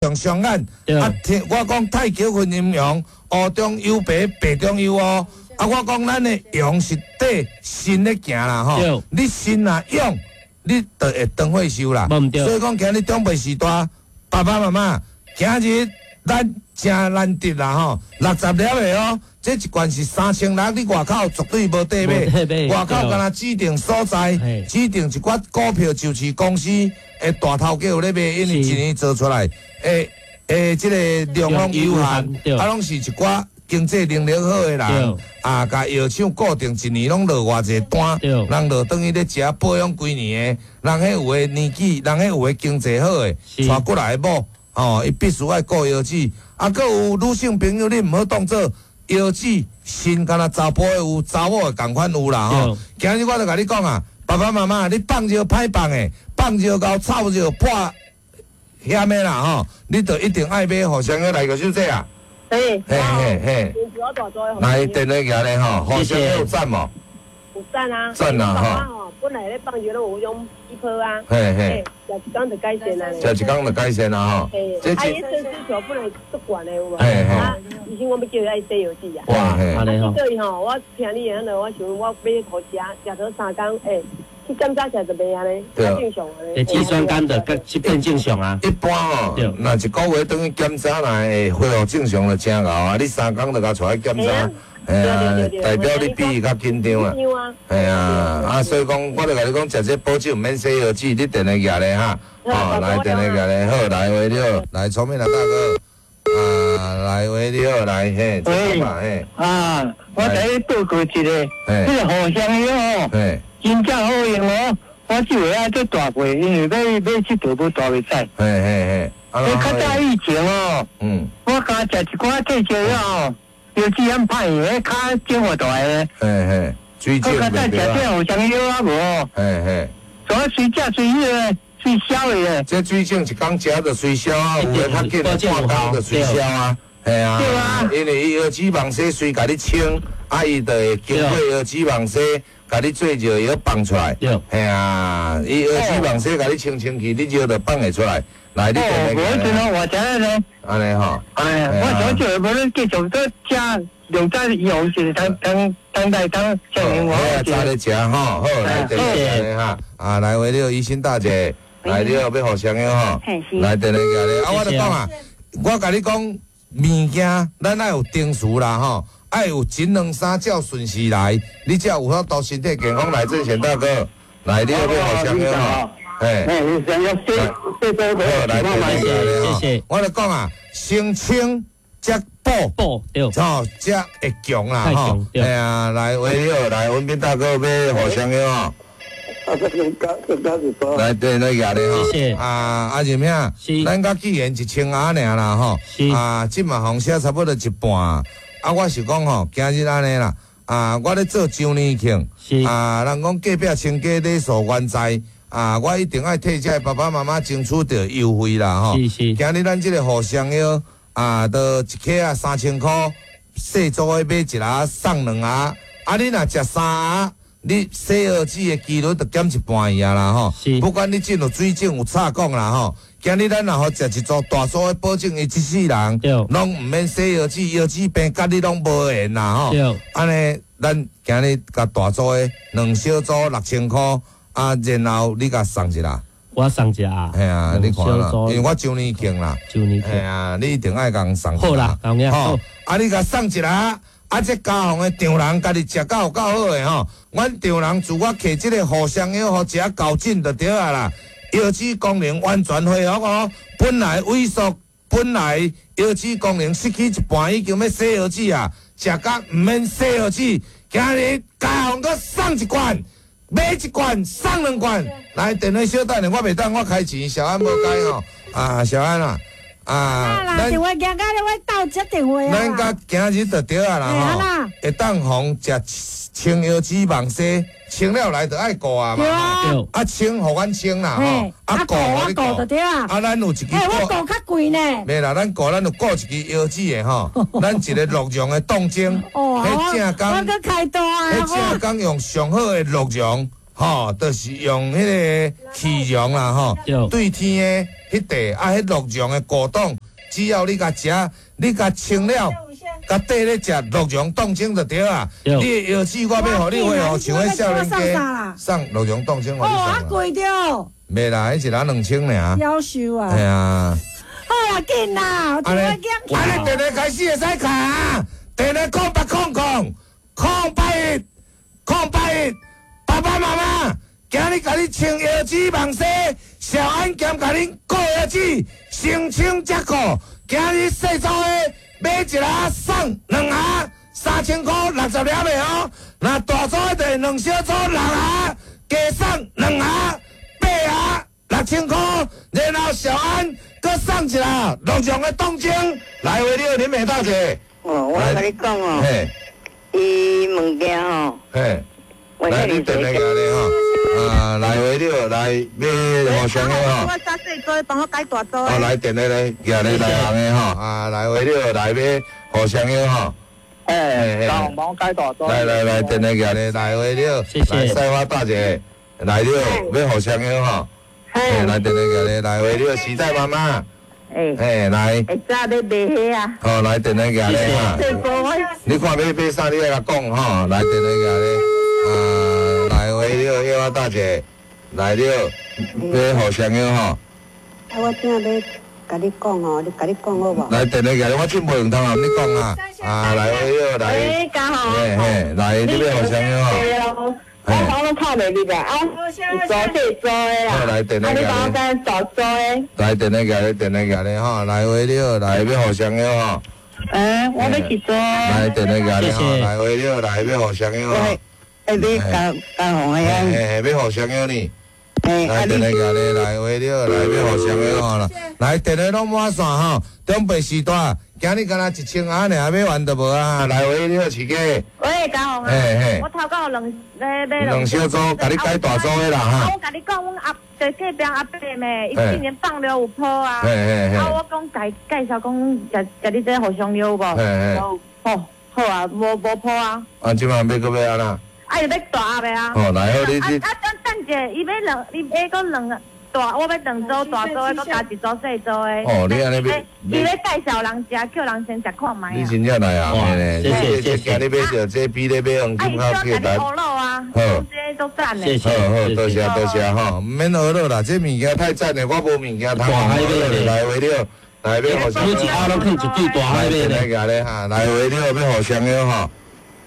像雙眼。啊，聽我講太極分陰陽，烏中有白，白中有烏。啊，我講咱的陽是綴身咧行啦吼，你身若勇，你就會長歲壽啦。所以講今日長輩時代，爸爸媽媽今日咱誠難得啦吼，60粒的哦，這一罐是3600，你外口絕對無得買，外口干焦指定所在，指定一寡股票上市公司的大頭家有咧賣，因為一年做出來，欸，這個量攏有限，啊，攏是一寡經濟能力好的人，啊，共藥廠固定一年攏落偌濟單，人落轉去咧食保養幾年的，人彼有的年紀，人彼有的經濟好的，娶過來的某，吼，伊必須愛顧腰子。啊，閣有女性朋友，你毋好當做腰子身，敢若查埔的有，查某的仝款有啦吼。今日我就共你講啊，爸爸媽媽，你放尿歹放的，放尿𠢕臭尿破險的啦吼，你就一定愛買予啥個來個小姐啊？嘿，嘿嘿嘿，來電話寄來吼，予啥有讚無？有讚啊！讚啊吼！本來咧放尿攏有彼種氣泡啊，嘿嘿，食一工就改善啊。食一工就改善啊吼！嘿，啊，伊腎需求本來足懸的有無？嘿嘿。啊，醫生講欲叫伊愛洗腰子啊。哇嘿！啊，叫伊吼，我聽你的彼落，我想我買予食，食咗三工，欸，去檢查起來就袂按呢，較正常按呢。肌酸酐的，較變正常啊。一般吼，若一個月轉去檢查，若會恢復正常就誠𠢕啊！你三工就共帶去檢查。嘿啊，代表你比伊較緊張啊！嘿啊，啊，所以講，我就共你講，食這保酒毋免洗腰子，你電話寄來哈，哦，來電話寄來，好，來喂你好，來聰明啊大哥，啊，來喂你好，來嘿，喂，嘿，啊，我共你報告一下，這個予雙藥哦，真正好用哦，我這回愛做大過，因為欲欲𨑨迌無大袂使。嘿嘿嘿，欸，較早以前哦，我敢食一寡退燒藥哦。腰子很歹，彼跤腫偌大个。嘿嘿，水腫。我較早食這予雙藥啊無？嘿嘿。所以隨食隨彼个，隨消的。這水腫一工食就隨消啊，有的較緊半工就隨消啊。嘿啊。對啊。因為伊腰子網紗隨共你清，啊，伊就會經過腰子網紗，共你做尿藥放出來。對。嘿啊，伊腰子網紗共你清清去，你尿就放會出來。來，你哦，無陣哦，我知影呢。按呢吼。哎，我想這無恁繼續閣食，用這用是當當當代當證明我。好，早咧食吼，好，來電話哈，啊，來喂你好，醫生大姐，來你好，欲予雙藥吼，來電話過來，啊，我就講啊，我共你講，物件咱愛有定時啦吼，愛有一兩三照順序來，你才有法度身體健康。來，鄭賢大哥，來你好，欲予雙藥吼。嘿，好，來，謝謝。我就講啊，先清才補，補對，吼，才會強啦，吼。嘿啊，來，喂，你好，來，文斌大哥，欲予雙藥吼。來，對，來，舉咧吼。謝謝。啊，阿仁兄，咱佮既然1000盒爾啦，吼。啊，這嘛予寫差不多一半。啊，我是講吼，今日按呢啦。啊，我咧做周年慶。啊，人講隔壁親家咧數原在。啊！我一定愛替這爸爸媽媽爭取著優惠啦吼！今日咱這個予雙藥啊，都一克啊3000箍，細組的買一盒送兩盒。啊，你若食三盒，你洗腰子的幾率就減一半去啊啦吼！不管你進有水腫有插管啦吼，今日咱若予食一組大組的保證，伊這世人攏毋免洗腰子，腰子病佮你攏無緣啦吼！按呢，咱今日共大組的兩小組6000箍。啊，然後你共送一啦，我送一下。嘿啊，你看啦，因為我周年慶啦，周年慶，嘿啊，你一定愛共送。好啦，吼，啊，你共送一下，啊，這家訪的丈人家己食到有夠好的吼，阮丈人自我摕這個予雙藥予食厚診就對啊啦，腰子功能完全恢復哦，本來萎縮，本來腰子功能失去一半，已經欲洗腰子啊，食甲毋免洗腰子，今日家訪閣送一罐。買一罐送兩罐，來電話小等下，我袂當我開錢，小安無開吼，啊小安啊，啊，咱電話行到咧，我鬥接電話啊。咱佮今日就對啊啦吼，會當予食清腰子網紗，清了來就愛顧啊嘛，啊清予阮清啦吼，啊顧予你顧就對啊。啊咱有一支，欸我顧較貴呢。袂啦，咱顧咱有顧一支腰子的吼，咱一個鹿茸的凍精，彼正工，我閣開大啊，彼正工用上好的鹿茸，吼，就是用彼個麋鹿啦吼，對天的彼塊啊，彼鹿茸的果凍。只要你共食，你共穿了，共缀咧食鹿茸冻精就對啊。你的腰子我欲予你恢復像彼少年家，送鹿茸凍精予你送。哦，啊貴著。袂啦，彼一人2000爾。夭壽啊！係啊。好啦，緊啦，按呢，按呢，電話開始會使卡，電話0800 081 081，爸爸媽媽，今日共你穿腰子網紗，小安兼共恁顧腰子，先穿才顧。今日細組的買一盒送兩盒，3000箍60粒的哦。若大組的就兩小組6盒，加送2盒，8盒6000箍。然後小安閣送一盒鹿茸的凍精，來回了林美大姐。哦，我共你講哦，伊物件吼，嘿，來你電話來咧吼，啊，來回了來買互相的吼。我三細組，幫我改大組。哦，來電話來，寄咧來行的吼，啊，來回了來買互相的吼。哎，幫我改大組。來來來，電話寄咧來回了，謝謝。來賽花大姐，來了買互相的吼。嘿，來電話寄咧來回了，時代媽媽。哎，來。會早咧賣彼啊。好，來電話寄咧哈。你看欲買啥，你愛共講吼。來電話寄咧，啊，來回了，葉花大姐，來了，欲互相的吼。啊，我正欲共你講吼，你共你講好無？來電話寄咧，我真無用通啊，你講啊。啊，來回了，來。哎，家豪。嘿嘿，來，你欲互相的吼。我講攏透袂入來，啊，是做細組的啦。來電話啊，你幫我改大組的。來電話寄咧，電話寄咧吼，來回了，來欲互相的吼。欸，我欲一組。來電話寄咧吼，來回了，來欲互相的吼。欸，欲加加紅的啊。嘿，欲互相的呢。來電話寄咧，來回了，來欲互相的吼啦。來電話攏滿線吼，長輩時代，今日敢若1000盒爾，買完就無啊。來回了，飼雞。喂，嘉宏啊，我頭拄有兩買買兩小組，共你改大組的啦哈。啊，我共你講，阮阿就隔壁阿伯咩，伊今年放尿有泡啊。啊，我講介介紹講食食你這互相尿無？好，好啊，無泡啊。啊，這擺欲閣欲按怎？啊，伊欲大盒的啊。哦，來好你你。啊，等等者，伊欲兩，伊欲閣兩。大，我欲兩組大組的，閣加一組細組的。哦，你按呢欲？伊咧介紹人食，叫人先食看覓。你真正來啊！謝謝謝謝。今日買著這比咧買黃金較簡單。啊，好，這都讚的。謝謝。好好，多謝多謝吼，毋免學落啦，這物件太讚了，我無物件通。大海買來回了，來欲互相。每一盒攏放一對大海買咧。來咧哈，來回了欲互相的吼。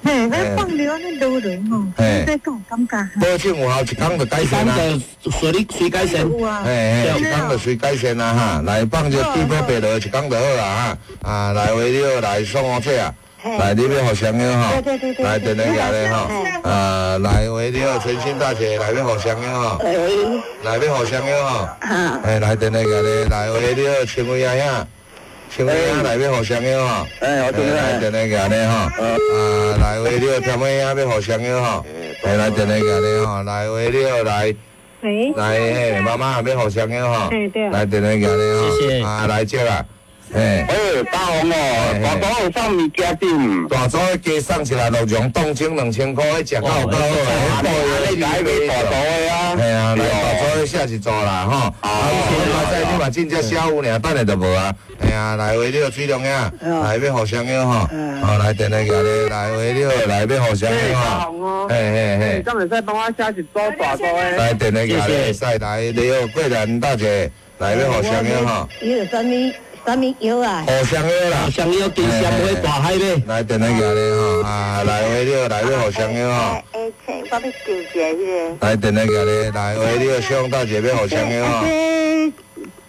嘿，咱放尿按呢落落吼，這敢有感覺？保證有效，一工就改善啊！隨你隨改善。嘿嘿，一工就隨改善啊哈！來放著對泡白落，一工就好啦哈！啊，來回了，來送我這啊，來你欲互相的吼，來電話寄咧吼，啊，來回了，陳新大姐來欲互相的吼，來欲互相的吼，哎，來電話寄咧，來回了，陳偉阿兄。請問來欲互相的吼，來電話寄咧吼，啊，來回了，田尾仔欲互相的吼，來電話寄咧吼，來回了來，來嘿，媽媽欲互相的吼，來電話寄咧吼，啊，來這啦，嘿，欸，大王哦，大組有送物件點？大組加送一粒鹿茸凍精2000箍，彼食夠夠好啊，你來買大組的啊？嘿啊，來大組寫一組啦吼，啊，我知你嘛真正寫有爾，等下就無啊。嘿啊，來回了水龍仔，來欲互相的吼，好來電話寄咧，來回了來欲互相的吼，嘿嘿嘿，敢會使幫我寫一組大組的？來電話寄咧，會使來，你好，桂蘭大姐，來欲互相的吼。伊有啥物啥物藥啊？互相藥啦，互相藥，金香買大海買。來電話寄咧吼，啊，來回了來欲互相的吼。欸，我欲求一下彼個。來電話寄咧，來回了，小大姐欲互相的吼。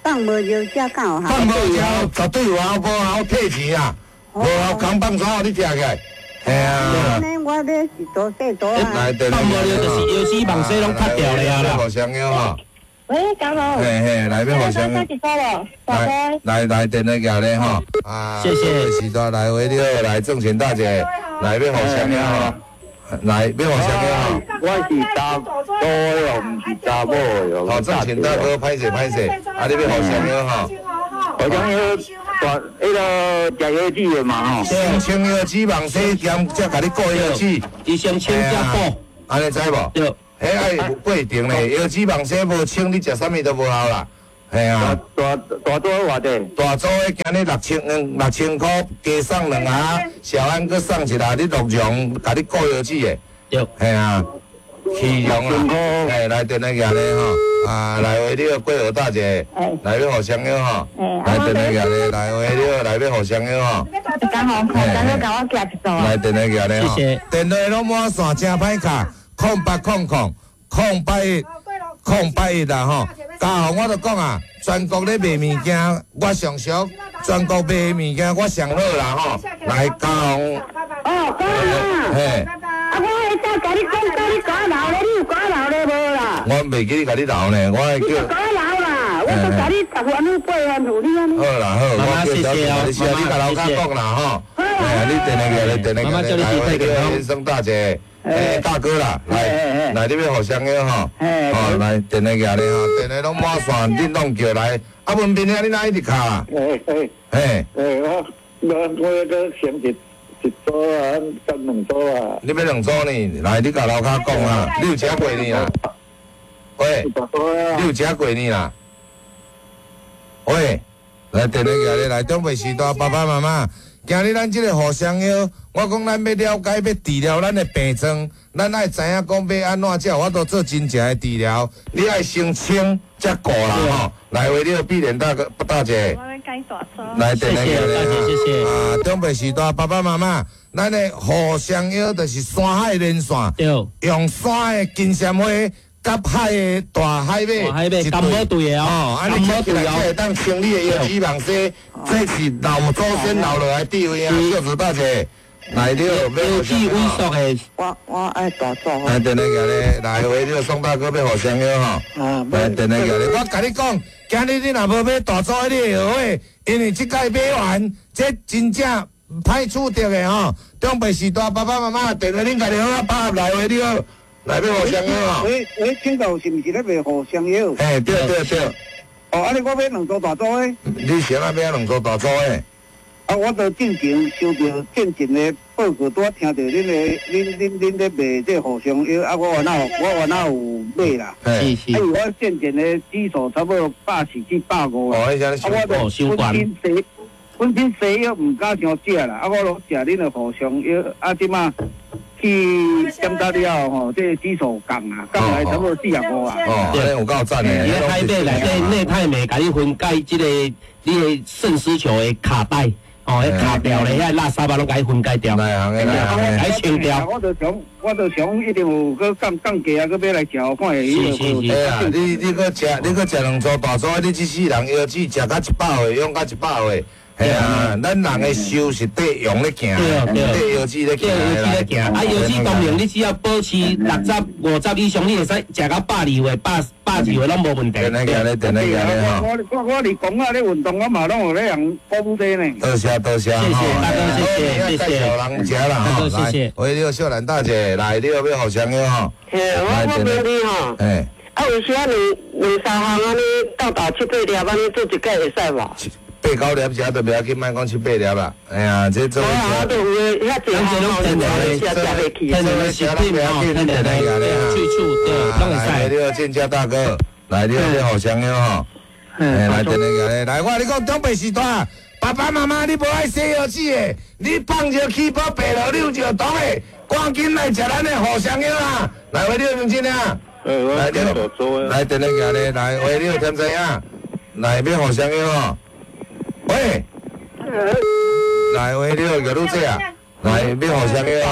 放無尿食敢有效？放無尿絕對有效，無效退錢啊！無效空放啥你聽起來？嘿啊！我欲一組細組啊！放無尿就是腰子網紗攏脫掉了啦。互相的吼。喂，嘉豪。嘿嘿，來欲互相。來來來，電話寄咧吼。啊，謝謝。時代來回了，來鄭錢大姐，來欲互相的吼。來欲互相的吼。我是查甫的哦，毋是查某的哦。好，鄭錢大哥，歹勢歹勢，啊，你欲互相的吼。互相的大，彼個食腰子的嘛吼。先清腰子，網紗兼才共你顧腰子。伊先清才補，按呢知無？對。彼愛有過程咧，腰子網紗無清，你食啥物都無效啦。嘿啊。大大组偌济？大组的今日6000箍，加送两盒，小安阁送一盒，你鹿茸，共你顾腰子的。对。嘿啊，起用啦，嘿，来电话寄咧吼，啊，来话你好，桂和大姐，来欲互相约吼，来电话寄咧，来话你好，来欲互相约吼。刚好，刚好共我寄一组啊。来电话寄咧吼，谢谢。电话拢满线，真歹敲，0800 081 081啦吼。家豪，我就讲啊，全国咧卖物件，我上俗；全国卖物件，我上好啦吼。来，家豪，哦，讲啊，嘿，啊，我彼早共你讲，叫你共我留咧，你有共我留咧无啦？我袂记得共你留呢，我会你就叫。共我留啦，我都共你十番五八番付你按呢。好啦好，妈妈我叫小谢谢哦姐，你你共楼跤讲啦吼。哎呀，你电话过来，电话妈妈过来，祝你身体健康来，先生大姐，哎，大哥啦，来来，你欲互相约吼，哦，来电话过来吼，电话拢满线，恁拢叫来。啊，文斌兄，你哪一直敲啊？嘿嘿嘿，嘿，我我我阁先一组啊，甲两组啊。你欲两组呢？来，你共楼跤讲啊，你有食过呢啦？喂，你有食过呢啦？喂，来电话过来，来长辈时代爸爸妈妈，今日咱这个互相约，我讲咱欲了解，欲治疗咱的病症，咱爱知影讲欲按怎才有法度做真正的治疗。你爱先清才顾啦吼。来，为了碧莲大哥大姐。我欲改大组。来，电话谢谢大姐，谢谢。啊，长辈时代爸爸妈妈，咱的互相约就是山海连线，对，用山的金蝉花佮海的大海马，大海马金宝对的哦哦，按呢金宝对哦起来才会当清你的腰子网丝，这是老祖先留落来智慧啊，小子大姐，来你好，腰子萎缩的，我爱大组。来，电话过来，来，喂，你好，宋大哥欲互相约吼。啊，来，电话过来，我共你讲，今日你若无买大组的，你会后悔，因为这届买完，这真正歹取得的吼。长辈时代爸爸妈妈，电话恁家己好啊，拍来话你好，来欲互相约吼。喂喂，请教是毋是咧卖互相药？嘿，对对对，哦，按呢我买两组大组的。你啥物买两组大组的？啊，我就进前收著进前的报告，拄仔听著恁的、恁恁恁咧卖这互相药，啊，我原来有买啦。嘿，是是啊，因为我进前的指数差不多140至150哦，啊。彼啥啊，我哦就伤悬本身西本身西药毋敢伤食啦，啊，我拢食恁的互相药，啊，这马去检查了后吼，这个指数降啊，降来差不多45啊。哦，按呢有够赞的。伫咧海马内底内肽酶，共你分解这个你的肾丝球的卡带，哦，彼卡掉咧，遐垃圾啊，拢共你分解掉，内行的，内行的。共清掉。我就想，一定有阁降降价啊，阁买来食，看会是是是哎呀，你阁食两组大组，你这世人腰子食到100岁，用到100岁。嘿啊，咱人的寿是缀羊咧行，缀腰子咧对，行。腰子咧行，啊，腰子当然你只要保持60、50以上，你会使食到120岁、120岁拢无问题。电咧行咧，电咧行咧吼。我伫公仔咧运动，我嘛拢有咧人鼓舞这呢。多谢多谢，谢谢大哥，谢谢谢谢。介绍人食啦吼，大哥谢谢。喂，你好，秀兰大姐，来，你好，欲互相约吼。嘿，我问你吼，嘿，啊，有时啊两两三项按呢，斗斗七八粒按呢做一届会使无？八九粒食都袂要紧，莫讲七八粒啦。哎呀，这做无啊，我就有的遐济项吼，食食袂去。天然的食品吼，天然的去处对，拢会来，使。你好，建家大哥，来，你好，欲互相约吼。哎，来，电话来，我共你讲，长辈时代，爸爸妈妈你无爱洗腰子的，你放尿起泡白落，你有尿毒的，赶紧来食咱的互相药啦。来，喂，你好，明真啊。来，你好，来，电话来，来，喂，你好，添知影，来，欲互相约吼。喂，来，喂，你好，玉女姐啊，来，欲互相约吼。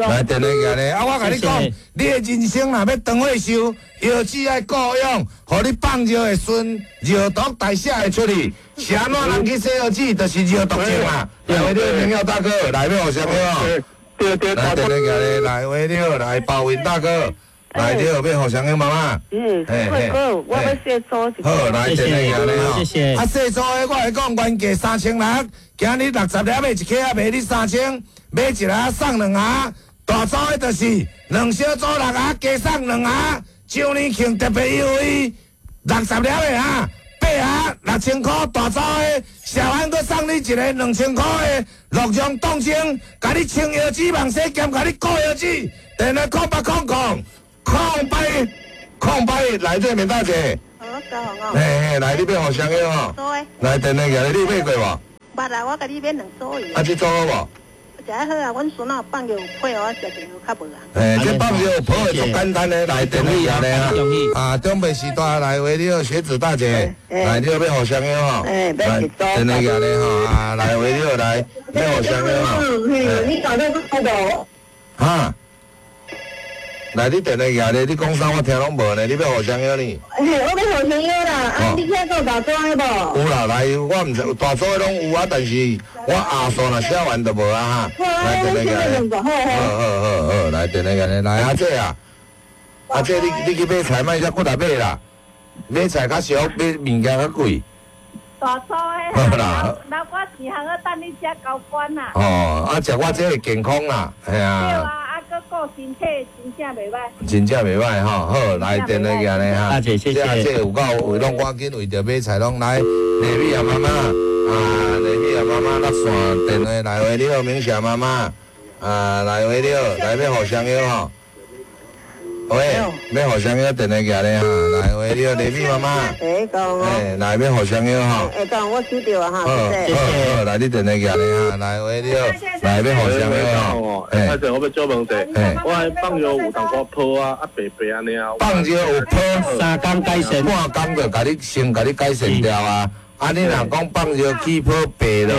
来，电话来，啊，我共你讲，你的人生若欲长岁寿，腰子爱顾养，予你放尿会顺，尿毒代谢会出去。是按怎人去洗腰子，就是尿毒症啊。来，喂，你好，朋友大哥，来，欲互相约吼。对对，来，电话来，来，喂，你好，来，包云大哥，来，你好，欲互相约妈妈。嗯，贵哥，我欲小组一好，来，电话来吼。谢谢。啊，细组的我会讲原价3600，今日60粒的一克仔卖你3000，买一盒送两盒。大组的就是两小组六盒，加送两盒。周年庆特别优惠，60粒的哈，八盒6000箍。大组的小安阁送你一个2000箍的鹿茸冻精，共你清腰子、网洗兼共你顾腰子。电话0800 081 081，来这边大姐。三项哦。嘿嘿，來，你欲予雙藥吼？來，電話寄來，你有買過無？捌啊，我共你買兩組。啊，這組好無？食好啊，阮孫仔放藥有配我食一藥較無啊。嘿，這放藥泡的足簡單的，來電話寄來啊。啊，長輩時代來話你好，學子大姐，來你好欲予雙藥吼？來電話寄來吼，啊，來話你好來，欲予雙藥吼？你講得不無？哈？來，你電話寄來，你講啥我聽攏無呢？你欲予雙藥呢？嘿，我欲予雙藥啦，啊，你遐閣有大組的無？有啦，來，我毋知大組的攏有啊，但是我下數若寫完就無啊哈。來電話寄來，好好好好，來電話寄來，來阿姐啊，阿姐你去買菜莫遮骨力買啦，買菜較俗，買物件較貴。大組的啦，老我錢通好等你食高官啦。哦，啊，食我這會健康啦，系啊。對啊，啊，閣顧身體，真正袂歹。真正袂歹吼，好，來電話寄來哈。阿姐，謝謝。阿姐有夠有攏趕緊為著買菜攏來。麗美啊媽媽，啊麗美啊媽媽，落線電話來話你好，明霞媽媽，啊來話你好，來欲予雙藥吼。喂，欲予雙藥電話寄來哈，來話你好，麗美媽媽。哎，來欲予雙藥吼。哎，講我收到啊哈，謝謝。好，來你電話寄來哈，來話你好，來欲予雙藥吼。哎，歹勢，我欲借問者，我放藥有淡薄泡啊，啊白白按呢啊。放藥有泡，三工改善，半工就共你先共你改善掉啊。啊！你若講放藥起泡白落，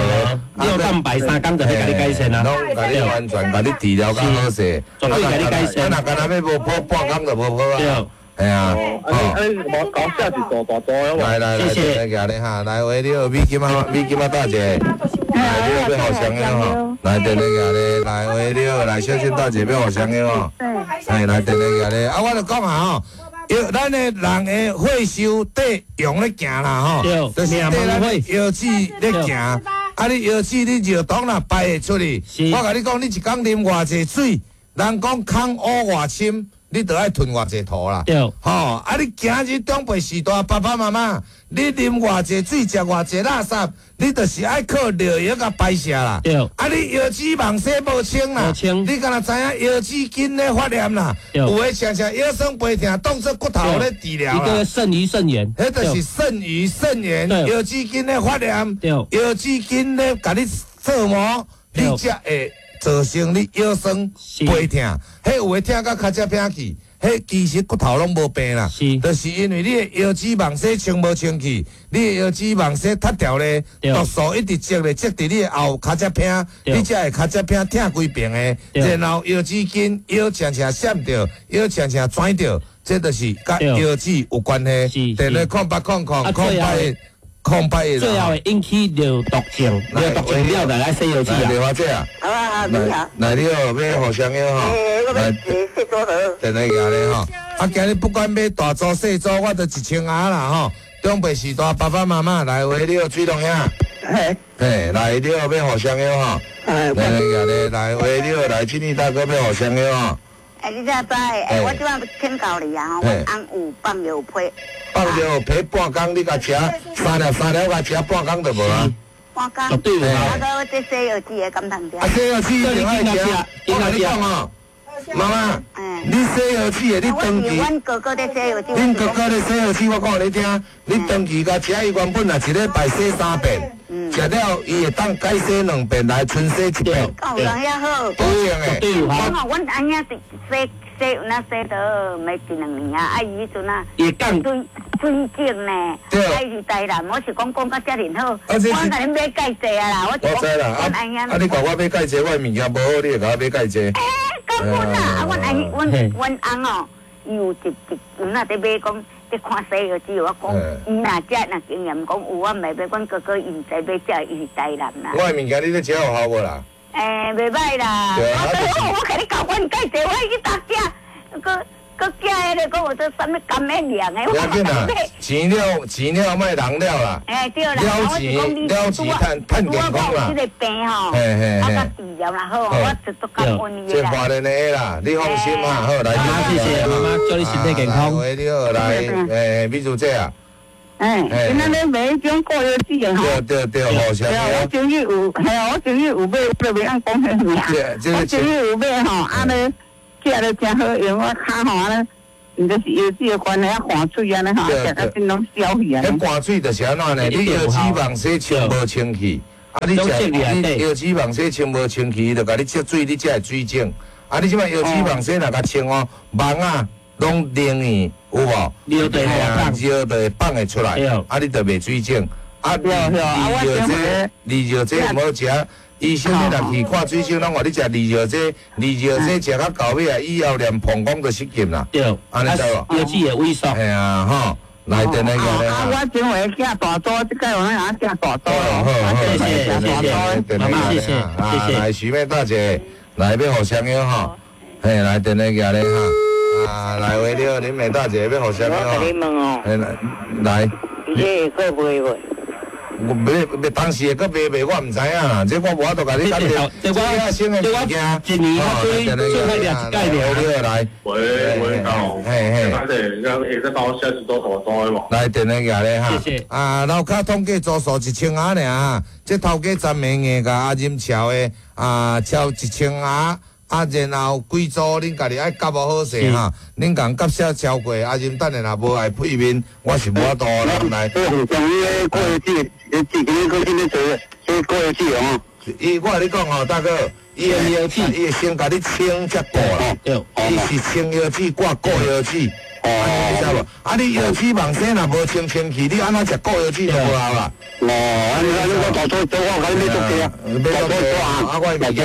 尿蛋白三工就會共你改善啊，攏共你完全共你治療較好勢，絕對共你改善。啊，若干焦欲無泡，半工就無泡啊。系啊，哦，啊，你無搞寫一組大組的。來來來，來，來哈，來喂，你好，美金啊，美金啊，大姐，來你好，欲予雙藥吼，來電話寄來，來喂，你好，來小新大姐欲予雙藥吼，哎，來電話寄來，啊，我就講啊吼。咱的人的血收綴陽咧行啦吼，就是綴咱腰子咧行。啊，你腰子你尿毒若排會出去，我共你講，你一工啉偌濟水，人講空污偌深，你就愛吞偌濟塗啦。吼，啊，你今日長輩時代，爸爸媽媽，你啉偌濟水，食偌濟垃圾，你就是愛靠尿液共排泄啦。啊，你腰子網洗無清啦，你敢若知影腰子筋咧發炎啦？有的常常腰酸背痛，當作骨頭咧治療啦。一個腎盂腎炎，彼就是腎盂腎炎，腰子筋咧發炎，腰子筋咧共你做毛，你才會造成你腰酸背痛。彼有的痛到跤脊偏去。彼其實骨頭攏無病啦，就是因為你的腰子網洗清無清氣，你的腰子網洗脫掉咧，毒素一直積咧積佇你的後跤脊偏，你才會跤脊偏疼規爿的，然後腰子筋腰常常閃著，腰常常轉著，這就是佮腰子有關係。電話0800 081 081。最後會引起尿毒症，尿毒症了就來洗腰子啊。電話姐啊，好啊，你好。來你好，欲予雙藥吼。來，電話寄來吼。啊，今日不管買大組細組，我都一千仔啦吼。長輩時代，爸爸媽媽來話你好，水龍兄。嘿，來你好，欲予雙藥吼。來來來，來話你好，來慶義大哥欲予雙藥吼。哎，你這知？哎，我這擺請教你啊，吼，我翁有放藥批，放藥批半工，你共食三粒三粒，共食半工就無啊。半工。絕對有。啊，閣這洗藥子的敢通食？啊，洗藥子一定愛食。我共你講哦，媽媽，你洗藥子的，你長期。阮哥哥咧洗藥子。恁哥哥咧洗藥子，我講予你聽，你長期共食，伊原本若一禮拜洗三遍，食了伊會當改洗兩遍，來春洗一遍。夠有人遐好。保證的。對有我吼，阮阿兄是洗洗有哪洗到沒一兩年啊，啊伊彼陣啊，水水井呢，啊伊是台南，我是講講甲遮爾好，我共恁買蓋濟啊啦，我我知啦，啊你共我買蓋濟，我的物件無好，你會共我買蓋濟？欸，根本啦，啊阮阿阮阮翁哦，伊有一一有哪佇買講。佇看西藥只我講，伊若食若經驗講有，我袂買。阮哥哥伊毋知買食，伊是台南啦。我的物件你咧食有效無啦？欸，袂歹啦。我共你講，阮介濟，我去逐食，閣閣寄彼个，閣有做啥物甘免凉的。不要紧啦，錢了錢了，莫人了啦。欸，對啦，了錢了錢，趁趁健康啦。這個病吼，嘿嘿啊，佮治療啦好，我就足感恩伊啦。這華人的啦，你放心哈，好來。媽媽謝謝媽媽，祝你身體健康。喂，你好，來，欸，美珠姐啊。欸，今仔日買彼種過藥子的吼。對對對，好，謝謝。我終於有，嘿啊，我終於有買，我就袂曉講彼名。我終於有買吼，按呢食咧誠好用，我跤吼按呢。毋就是腰子的关系啊，汗水按呢吼，食甲真攏消去按呢。彼汗水就是按怎呢？你腰子网洗清无清气，啊你食你腰子网洗清无清气，伊就共你积水，你才会水肿。啊你这摆腰子网洗若共清哦，网仔拢冷去，有无？尿就会放，尿就会放会出来，啊你就袂水肿。啊，利尿这利尿这毋好食。医生你若去看水肿，拢话你食利尿剂，利尿剂食到到尾啊，以后连膀胱都失禁啦。对，按呢知无？腰子会萎缩。嘿啊，吼，来电话过来。啊，我前回寄大组，这摆有哪寄大组。好，好，谢谢，谢谢，妈妈，谢谢，谢谢。来，徐妹大姐，来欲互相约吼，嘿，来电话过来哈。啊，来喂，你好，林美大姐欲互相约吼。我共你问哦。嘿，来。你这会阁卖无？我买买当时会阁卖袂，我毋知影啦。这我无法度共你讲。这我新的物件，一年我最最歹掠一届尔。来，喂喂，嘿嘿，大姐，会使帮我写一组大组的无？来电话寄咧哈。谢谢。啊，楼跤统计组数1000盒尔，这头家陈明的共阿任超的啊，超1000盒。啊，然后几组恁家己爱夹无好势哈，恁共夹写超过，啊，任等下若无爱配面，我是无法度啦。来，像迄个过节，自己个先咧做，做过节哦。伊我共你讲吼，大哥，伊的腰子，伊会先共你清才顾啦。伊是清腰子挂顾腰子。哦，你知无？啊，你腰子网生若无清清气，你按怎食顾腰子都无效啦。哦，按呢按呢，我大组做我共你买足济啊，买足济啊！啊，我的物件，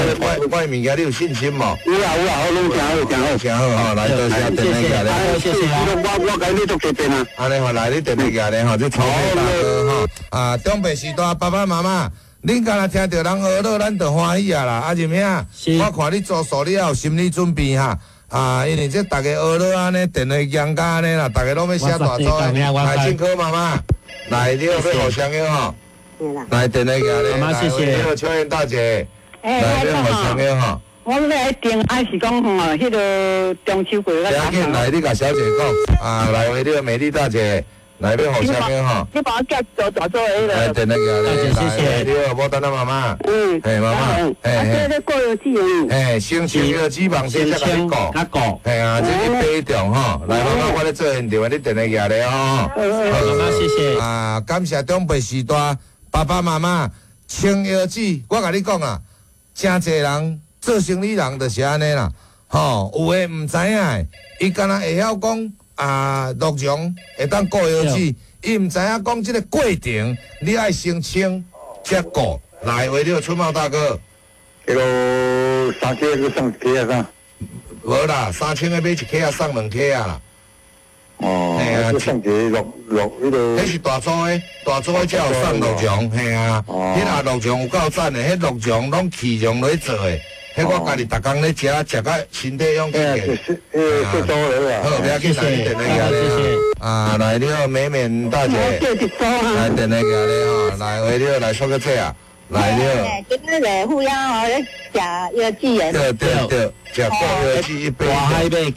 我的物件，你有信心无？有啊有啊，我拢诚好，诚好，诚好吼！来，多谢电话来，谢谢啊！我共你买足济遍啊！按呢吼，来你电话来吼，这草莓大哥吼啊，长辈时代爸爸妈妈，恁敢若听著人学乐，咱就欢喜啊啦！啊，仁兄，我看你做数，你也有心理准备哈。啊，因为这逐家学乐按呢，电话讲甲按呢啦，逐家拢欲写大组的。来，进科妈妈，来，你好，欲互相约吼。来，电话寄来。妈妈，谢谢。你好，秋燕大姐。来，欲互相约吼。我欲来订，还是讲吼，彼个中秋过。不要紧，来，你共小姐讲。啊，来，你好，美丽大姐。来，欲互相约吼。你帮我寄做大组的彼个。来，电话寄来。谢谢。你好，无等啊，妈妈。嗯。嘿，妈妈。嘿。啊，这个过药剂哦。嘿，先清药剂网先才共你顾。较顾。嘿啊，这是体重吼。来，妈妈，我咧做现场，你电话寄来吼。好，妈妈，谢谢。啊，感谢长辈时代爸爸妈妈清药剂，我共你讲啊，诚济人做生意人就是按呢啦，吼，有的毋知影的，伊敢若会晓讲。啊，鹿茸会当顾腰子，伊毋知影讲这个过程，你爱先清才顾。来，为了春茂大哥，彼个3克阁送1克啊啥？无啦，3000个买1克啊，送2克啊啦。哦，嘿啊，送一个鹿鹿彼个。彼是大组的，大组的才有送鹿茸，嘿啊，彼个鹿茸有够赞的，彼鹿茸拢气茸落去做的。彼我家己逐工咧食，食甲身体勇健健。好，不要紧，来你电话寄来。啊，来你好，美美大姐。来电话寄来吼，来喂你好，来说个这啊，来你好。今日来护腰哦，咧食药剂的。对对对，食过药剂一杯。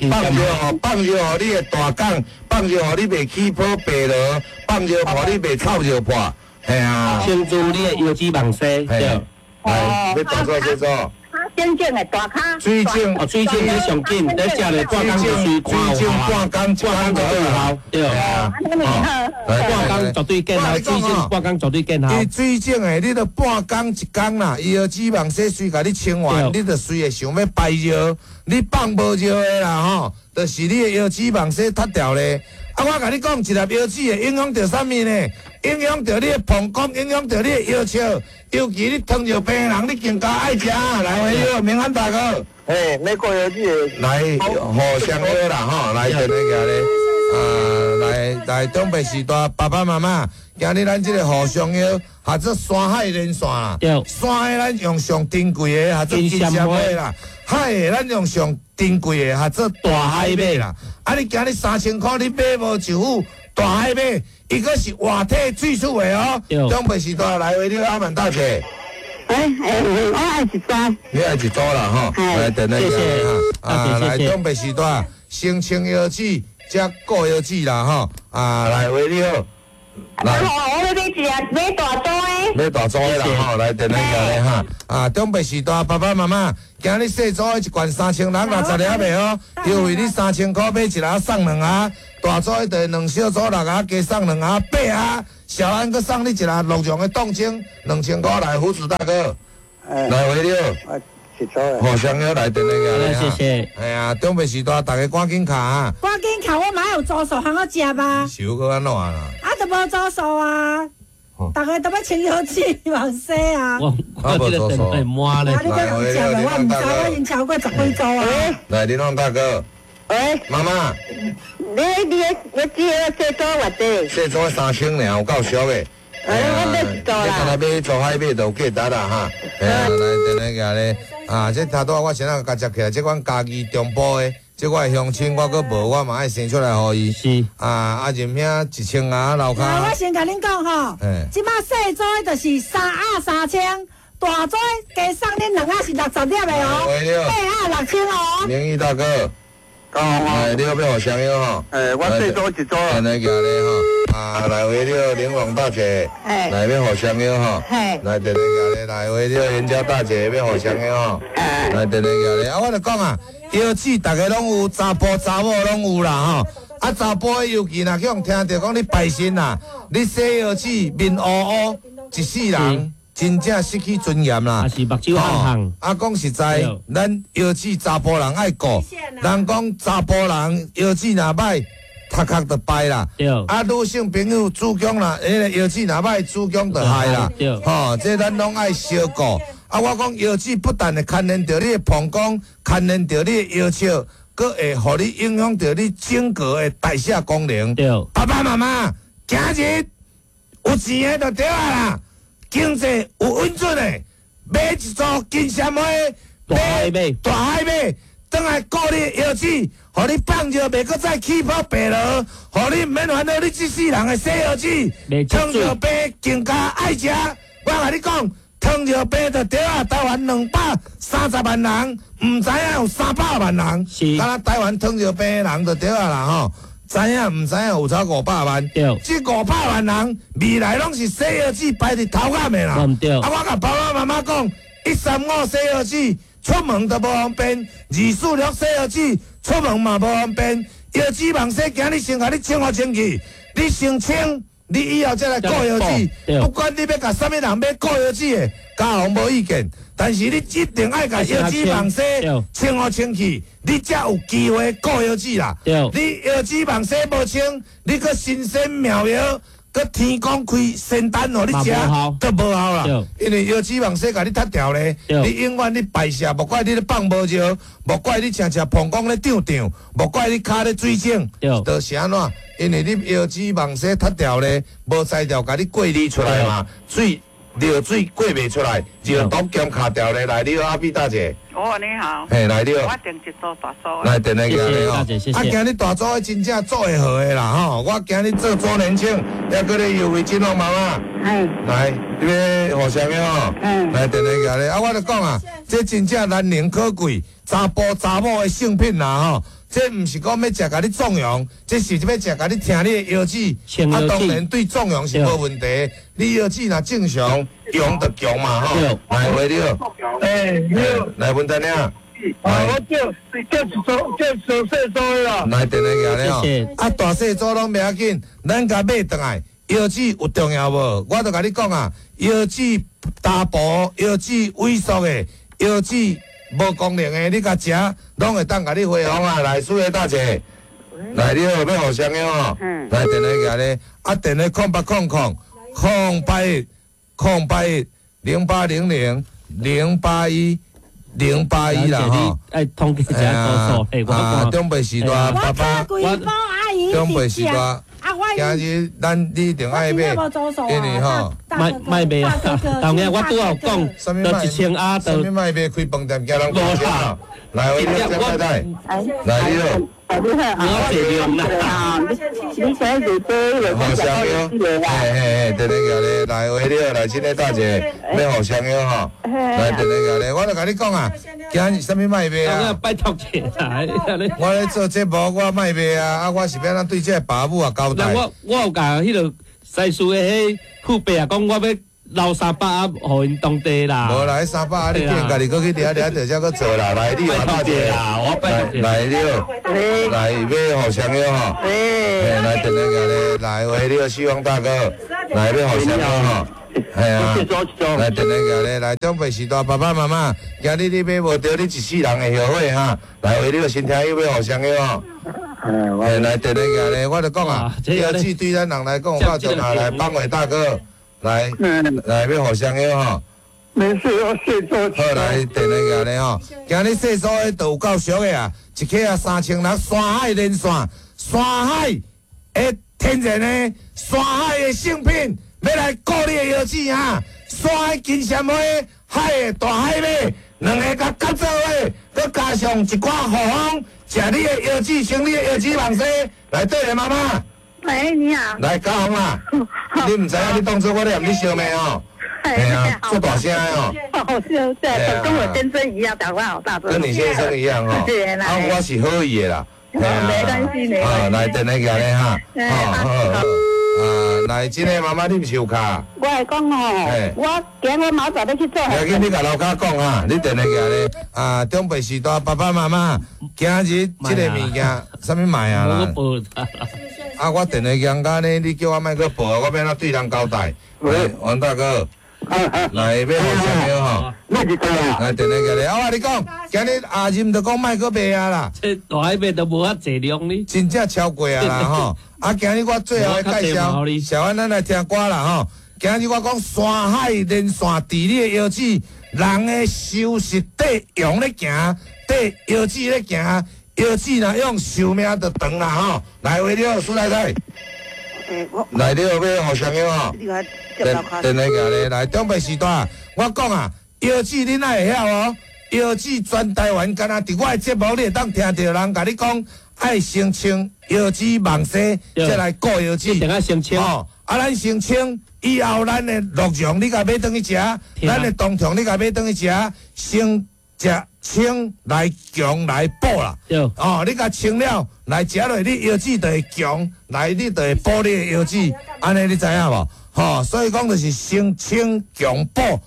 放药吼，放药予你的大港，放药予你袂起泡白螺，放药予你袂臭尿破，嘿啊。清除你的腰子网丝，对。来，欲大做这做。真正的大跤，水井哦，水井你上紧，你食咧半工就随看有效，半工半工就有效，对。半工绝对见效，水井半工绝对见效。伊水井的，你著半工一工啦，伊的脂肪洗随共你清完，你著随会想欲排尿，你放无尿的啦吼，就是你的腰脂肪洗脱掉咧。啊，我共你讲，一粒腰子会影响著啥物呢？影响著你的膀胱，影响著你的腰笑，尤其你糖尿病的人，你更加爱食。来，喂，好，明安大哥。嘿，欲顾腰子的。来，互相好啦吼，来，电话寄咧。啊，来来，长辈时代爸爸妈妈，今日咱这个互相药，合做山海连线啦。山的咱用上珍贵的，合做金针花啦；海的咱用上珍贵的，合做大海马啦。啊！你今日3000箍，你买无一副大海马，伊阁是活体萃取的哦。长辈时代来，喂，你阿曼大姐。我爱一组。你爱一组啦吼，来，电话谢谢。啊，来，长辈时代先清腰子，才顾腰子啦吼。啊，来，喂，你好，來，我欲買一个買大組的。買大組的啦吼，來電話過來哈。啊，長輩時代爸爸媽媽，今日細組的一罐3660粒的哦，優惠你3000箍買一盒送兩盒，大組的就兩小組六盒加送兩盒八盒，小安閣送你一盒鹿茸的凍清2000箍來，胡子大哥，來回了。互相約來電話過來，謝謝。哎呀，長輩時代，大家趕緊卡。趕緊卡，我嘛有組數通好食吧？手閣按怎啦？啊，都無組數啊！大家都欲清腰子往洗啊！我這個電話滿咧。啊，你閣有食無？我毋知，我已經超過10幾組啊。來，林旺大哥。喂。媽媽。你只個細組偌濟？細組3000爾，有夠俗的。哎，我買一組啦。你敢若買做海買就有價值啦哈。哎呀，來電話過來。啊，這頭拄仔我先仔共接起來，這阮家己中部的，這我的鄉親，我閣無，我嘛愛生出來予伊。是。啊，阿任兄1000盒樓跤。我先共恁講吼，這擺細組的就是3盒3000，大組加送恁2盒是60粒的哦，8盒6000哦。明義大哥，哎，你要欲予双药吼？哎，我細組一組。安呢行咧吼。啊，來回了玲瑯大姐，來欲予双药吼，來電話過來，來回了袁家大姐欲予双药吼，來電話過來。啊，我就講啊，腰子逐个攏有，查埔查某攏有啦吼。啊，查埔的尤其若去予聽著講你拜神啊，你洗腰子面烏烏，一世人真正失去尊嚴啦。啊是目睭紅紅。啊，講實在，咱腰子查埔人愛顧，人講查埔人腰子若歹。頭殼就敗啦，啊，女性朋友子宮啦，彼个腰子若歹，子宮就害啦，吼，這咱攏愛相顧。啊，我講腰子不但會牽連著你的膀胱，牽連著你的腰笑，閣會予你影響著你整個的代謝功能。爸爸媽媽，今日有錢的就對啊啦，經濟有穩準的，買一組金絲花，買大海馬。轉來顧你的腰子，予你放尿袂閣再起泡白螺，予你毋免煩惱你這世人的洗腰子。糖尿病更加愛食，我共你講，糖尿病就對啊，台灣230萬人，毋知影有300萬人，敢若台灣糖尿病的人就對啊啦吼，知影毋知影有超500萬？這500萬人未來攏是洗腰子排佇頭殼的啦。啊，我共爸爸媽媽講，1、3、5洗腰子。出門都無方便，2、4、6洗腰子，出門嘛無方便。腰子網洗，今日先共你清好清氣，你先清，你以後再來顧腰子。不管你欲共啥物人買顧腰子的，家雄無意見。但是你一定愛共腰子網洗清好清氣，你才有機會顧腰子啦。你腰子網洗無清，你閣神仙妙藥。閣天公開仙丹予你食，都無效啦。因為腰子網洗共你踢掉咧，你永遠你排泄，莫怪你咧放無尿，莫怪你常常膀胱咧脹脹，莫怪你跤咧水腫，就是按怎？因為你腰子網洗踢掉咧，無材料共你過濾出來嘛，水尿水過袂出來，尿毒兼卡掉咧。來，你好，阿比大姐。哦，你好。嘿，來你好。我訂一組大組。來，電話過來吼。謝謝。啊，今日大組的真正做會好的啦吼，我今日做周年慶，抑閣咧優惠金哦，媽媽。嗯。來，你欲予啥物吼？嗯。來，電話過來。啊，我就講啊，這真正難能可貴，查埔查某的聖品啦吼。這毋是講欲食共你壯陽，這是欲食共你聽你的腰子。啊，當然對壯陽是無問題。你腰子若正常，陽就強嘛吼。來，喂，你好。欸，你好。來，文丹娘。啊，我叫一組，叫一組細組的啦。來，電話過來吼。啊，大細組攏袂要緊，咱共買轉來。腰子有重要無？我就共你講啊，腰子大埔、腰子萎縮的、腰子無功能的，你共食，攏會當共你恢復啊！來，蘇葉大姐，來，你好，欲予雙藥吼？來，電話過來，啊，電話0800 081 081 0800 081 081啦吼。愛統計一下組數，啊，長輩時代，爸爸，長輩時代。今日咱你一定愛買，因為吼，莫賣啊！當然我拄仔有講，就1000盒，啥物莫賣開飯店，驚人講啥？來，我太太，來你好，你好，我坐量啦。你想做做好香药，嘿嘿嘿，对对对，來喂你好，來親愛大姐，欲予双藥吼，來對對對，我就共你講啊，今日啥物莫賣啊？拜託者啊！我咧做節目，我莫賣啊，啊，我是欲按怎對這个爸母啊交代？我有共彼个西事的彼父伯啊，講我欲留300啊，予𪜶當地啦。無啦，彼300啊，你既然家己閣去掠掠，就才閣做啦。來，你話大姐啦，我拜託來，你好，來欲互相約吼。來，等下咧，來，喂，你好，希望大哥，來欲互相約吼。係啊，來，等下咧，來，長輩時代爸爸媽媽，今日你買無著，你一世人會後悔哈。來，喂，你好，新聽友欲互相約吼。來，等下咧，我就講啊，藥劑對咱人來講有夠重要。來，邦偉大哥。來，來，欲互相約吼。沒事，我謝做。好，來，電話咧吼，今日細數的都有夠俗的啊，一克啊3600，山海連線，山海的天然的，山海的聖品，欲來顧你的腰子啊，山海金萱花，海的大海馬，兩个共合做伙，閣加上一寡護風，食你的腰子，穿你的腰子網紗，來，對咧，媽媽。喂，你好。來，嘉宏啊，你毋知影你當初我咧含你相罵哦，嘿啊，做大聲的哦。哦，是，對，跟我先生一樣，講話好大聲。跟你先生一樣哦。啊，我是好意的啦。沒關係，沒關係。啊，來，電話過來哈。好好好。啊，來，這個媽媽你毋是有卡？我會講哦，我今日我明早欲去做。要緊，你共樓跤講哈，你電話過來。啊，長輩時代爸爸媽媽，今日這個物件，啥物賣啊啦？啊！我電話講甲呢，你叫我莫閣報，我欲按怎對人交代？喂，王大哥，來欲互相約吼？來電話過來，我共你講，今日阿任就講莫閣賣啊啦。這大海馬都無遐濟量呢。真正超過啊啦吼！啊，今日我最後的介紹，小安咱來聽歌啦吼。今日我講山海連線，佇你的腰子，人的收拾綴羊咧行，綴腰子咧行。腰子若用壽命就長啦吼！來，喂，你好，蘇太太。來，你好，欲互相約吼。電話過來，來，長輩時代，我講啊，腰子恁愛會曉哦。腰子全台灣，敢若佇我的節目，你會當聽著人共你講，愛先穿腰子網紗，才來顧腰子。一定愛先穿。哦，啊，咱先穿，以後咱的鹿茸你共買轉去食，咱的冬蟲你共買轉去食，先食。清來強來補啦，哦，你共清了來食落，你腰子就會強，來你就會補你的腰子，按呢你知影無？吼，所以講就是先清強補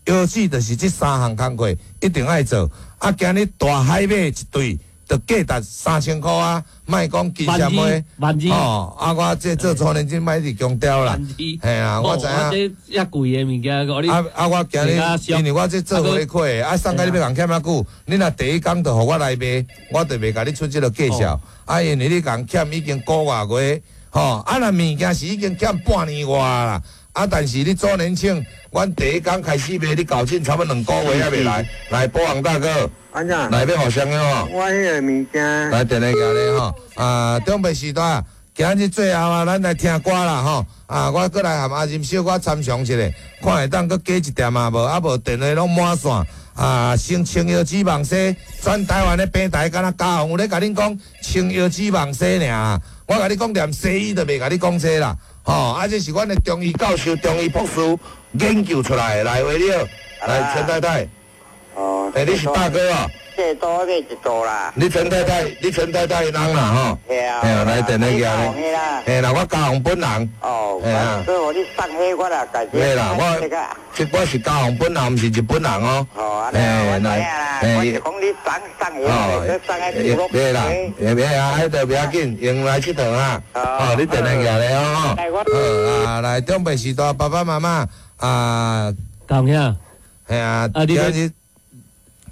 腰子，就是這三項工課一定愛做。啊，今日大海馬一對，就價值3000箍啊！莫講金萱花，哦，啊，我這做粗年真莫一直強調啦，嘿啊，我知影。這遐貴的物件，啊啊！我今日因為我這做回客，啊，送甲你欲共欠遐久，你若第一工就予我來賣，我就袂共你出這个介紹。啊，因為你共欠已經個外月，吼，啊，若物件是已經欠半年外啦。啊！但是你做年輕，阮第一工開始賣，你搞進差不多2個月還袂來。來，保王大哥，來欲互相約吼。我彼个物件。來，電話過來吼。啊，長輩時代，今日最後啊，咱來聽歌啦吼。啊，我閣來含阿任小可參詳一下，看會當閣加一點啊無？啊無電話攏滿線。啊，先穿腰子網紗，全台灣的平台敢若嘉宏有咧共恁講穿腰子網紗爾。我共你講，連西醫都袂共你講這啦。吼，啊，這是阮的中醫教授、中醫博士研究出來的。來，喂，你好，來陳太太。哦。欸，你是大哥哦。這多買一组啦。你陳太太，你陳太太的人啦吼。對啊。嘿啊，來電話過來。嘿啦，我嘉宏本人。哦。嘿啊。所以我你送彼我啦，家己。對啦，我是嘉宏本人，毋是日本人哦。哦，安呢我知影啦。我是講你送送彼，送彼。對啦，袂啊，彼就袂要緊，用來𨑨迌啊。哦，你電話過來哦。好啊，來長輩時代，爸爸媽媽啊。嘉宏兄。嘿啊，今日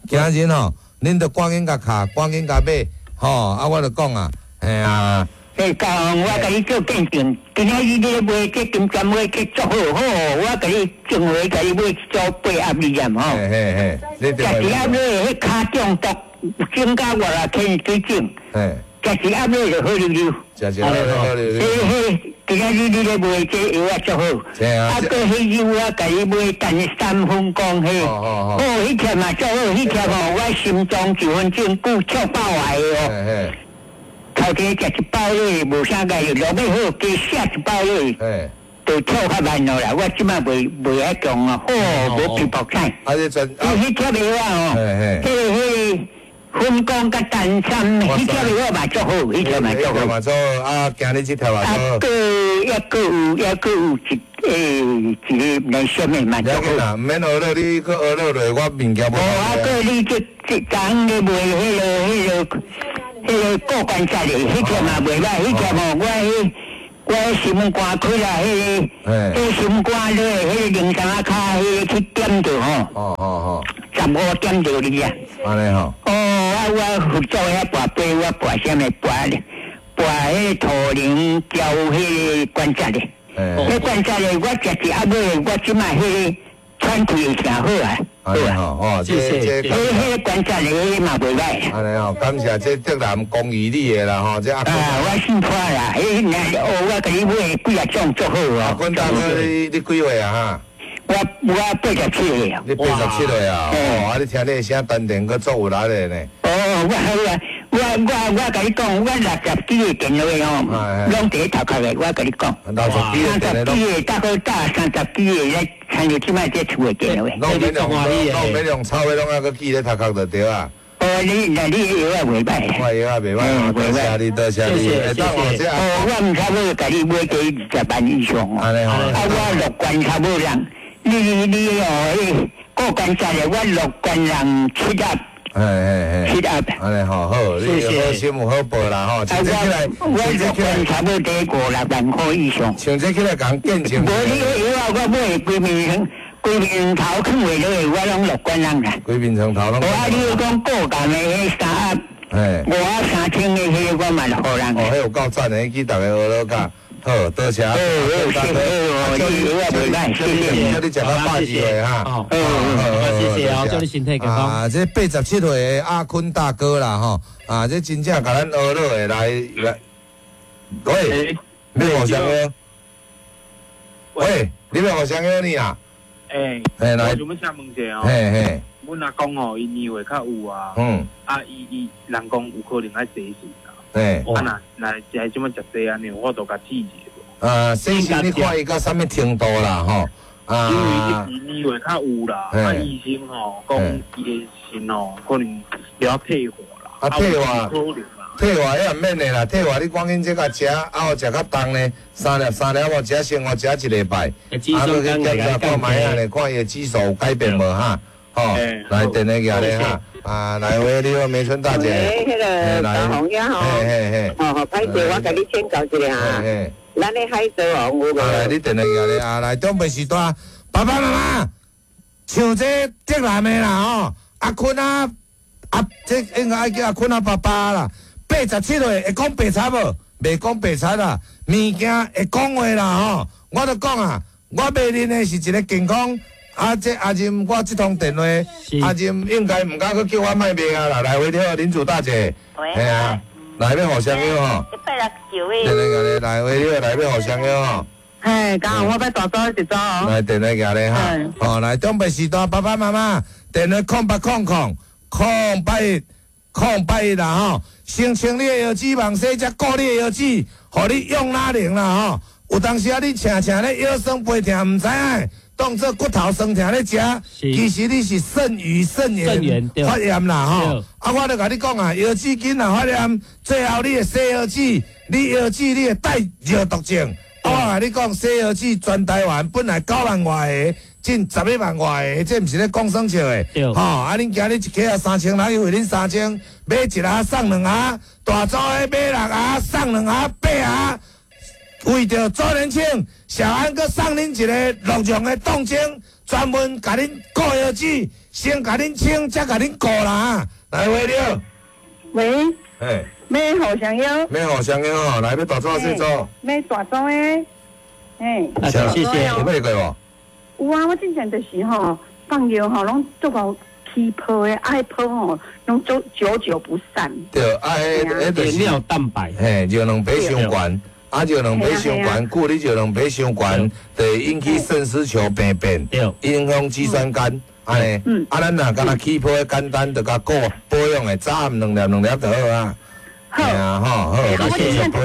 今日吼。恁著趕緊共卡，趕緊共買，吼！啊，我著講啊，嘿啊。欸，嘉宏，我共你做見證，今仔日你咧買這金針花去足好好，我共你上回共你買一組8盒二粒吼。嘿嘿嘿，食一盒落，彼跤中毒，增加偌偌天水准。嘿。食一盒落就好溜溜。食一盒落好溜溜。嘿嘿，今仔日你咧買這藥仔足好。啊，閣彼药我共你買陈三分光彼，哦，彼粒嘛足好，彼粒吼我心脏一分钟久跳爆来的哦。头天食一包落，无啥个，落尾好加写一包落，就跳较慢落啦。我这摆袂遐强啊，好，无皮薄菜。啊，你真。伊彼粒药仔哦，彼个。分光佮丹参，彼条药嘛足好，彼条嘛足好。嘛足好，啊，今日這條嘛足好。啊，閣抑閣有，抑閣有一個來什麼嘛足好。毋免學了，你閣學了落，我物件無。無啊，閣你這昨昏咧賣彼個骨關節的，彼條嘛袂歹，彼條吼我彼心肝開啦，彼心肝落，彼個靈山仔跤，彼個去點著吼。15點著你啊。按呢吼。哦，啊，我佛祖遐跋杯，我跋啥物跋？跋彼個土靈調彼個關節的。彼關節的，我食一阿尾，我這擺彼個喘氣會誠好啊。按呢吼，哦，謝謝。彼個關節的，彼嘛袂歹。按呢吼，感謝這竹南公益你的啦吼，這阿。啊，我姓潘啦，彼若哦，我共你買幾啊種足好哦。阿坤大哥，你幾歲啊？哈？我87歲啊。你87歲啊？哦，啊！你聽你的聲，丹田閣足有力的呢。哦，我共你講，我60幾個電話吼，攏佇咧頭殼的，我共你講。60幾個電話。30幾個，大概打30幾個咧，參像這擺這厝的電話。攏免用，攏免用抄的，攏猶閣記咧頭殼就對啊。哦，你那你藥仔袂歹。我藥仔袂歹，多謝你，多謝你。謝謝。哦，我毋差不多共你買這20萬以上哦。按呢吼。啊，我樂觀差不多人，你哦，彼骨關節的，我樂觀人7粒。嘿。7粒。按呢吼，好，你好心有好報啦吼。啊，我樂觀差不多5、6萬塊以上。像這起來共見證。無你彼藥仔，我買規面規面頭囥袂落去，我攏樂觀人啦。規面床頭攏。無啊，你講骨癌的彼3盒，5盒3000的彼個我嘛予人。哦，彼有夠讚的，彼去逐家學落教。好，多謝。好，謝謝，你藥仔袂歹，謝謝。祝你食到120歲哈。好，謝謝哦，祝你身體健康。啊，這87歲的阿坤大哥啦吼，啊，這真正共咱學落的來來。喂，你互相約？喂，你欲互相約你啊？欸，來，我想欲請問一下哦。嘿嘿。阮阿公吼，伊年歲較有啊。啊，伊人講有可能愛洗腎啊。啊，若若這擺食這按呢，我都共試一下。啊，洗腎你看伊到啥物程度啦吼？啊，因為伊年歲較有啦，啊，醫生吼講伊的腎吼可能了退化啦。啊，退化，退化也毋免的啦，退化你趕緊這共食，啊，有食較重呢，3粒3粒，我食生活食一禮拜，啊，閣去檢查看覓仔咧，看伊的指數有改變無哈？吼，來電話寄咧哈，啊，來喂，你好，梅春大姐。喂，彼個大紅呀吼，嘿，吼，歹勢，我共你請教一下哈。咱的海賊王有無？啊，來，你電話寄咧啊，來，長輩時代，爸爸媽媽，像這竹南的啦吼，阿坤啊，啊，這應該愛叫阿坤啊爸爸啦。87歲會講白賊無？袂講白賊啦，物件會講話啦吼。我就講啊，我賣恁的是一個健康。啊，這阿任，我這通電話，阿任應該毋敢閣叫我莫賣啊啦。來，喂，你好，林主大姐。喂。嘿啊，來欲互相約吼。 169個。來，喂，你好，來欲互相約吼。嘿，剛好我欲大組一組哦。來，電話寄咧哈。哦，來，長輩時代，爸爸媽媽，電話0800 081 081啦吼。先清你的腰子，網洗才顧你的腰子，予你用哪能啦吼。有當時啊，你抻抻咧腰酸背疼，毋知影，當做骨頭酸疼咧食，其實你是腎盂腎炎發炎啦吼。啊，我就共你講啊，腰子筋若發炎，最後你會洗腰子，你腰子你會帶尿毒症。我共你講，洗腰子全台灣本來9萬外个，進11萬外個，這毋是咧講耍笑的。吼，啊，恁今日一克啊3000人，因為恁3000買一盒送2盒，大組的買6盒送2盒8盒。為著周年慶，小安閣送恁一個鹿茸的凍精，專門共恁顧腰子，先共恁清，才共恁顧啦。來，喂，你好。喂。嘿。欲互相約。欲互相約吼，來欲大組細組。欲大組的，嘿。謝謝。有買過無？有啊，我之前就是吼放藥吼，攏足夠起泡的，愛泡吼，攏足久久不散。對，啊，彼就是尿蛋白，嘿，尿蛋白傷懸，啊，尿蛋白傷懸，久你尿蛋白傷懸，就會引起腎絲球病變，影響肌酸酐，按呢，啊，咱若敢若起泡的簡單，就共顧保養的，早暗2粒2粒就好啊。好，好。啊吼，好，我之前食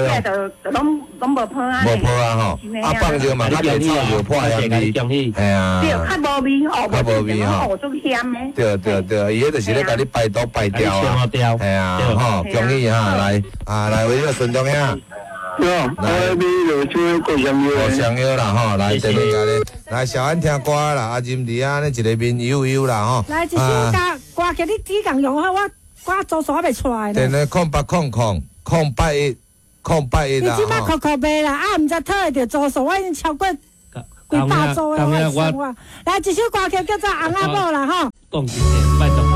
就拢无泡啊。无泡啊吼，啊放尿嘛，较袂臭尿破香味。嘿啊。对，较无味吼，较无味吼，足咸的。对对对，伊彼就是咧共你排毒排掉啊。嘿啊，吼，恭喜哈，来啊来，为了孙中兄。哟，来买落手过香药，过香药啦吼，来这边甲你，来小安听歌啦，啊任伫啊，呢一个面悠悠啦吼。来一首歌歌曲，你只共用好，我我周数还袂出来。电话0800 081 081啦。你这摆扣扣袂啦，啊，毋知讨会著周数，我已经超过几百组的我生活。来一首歌曲叫做《翁仔某》啦吼。讲真的，拜托。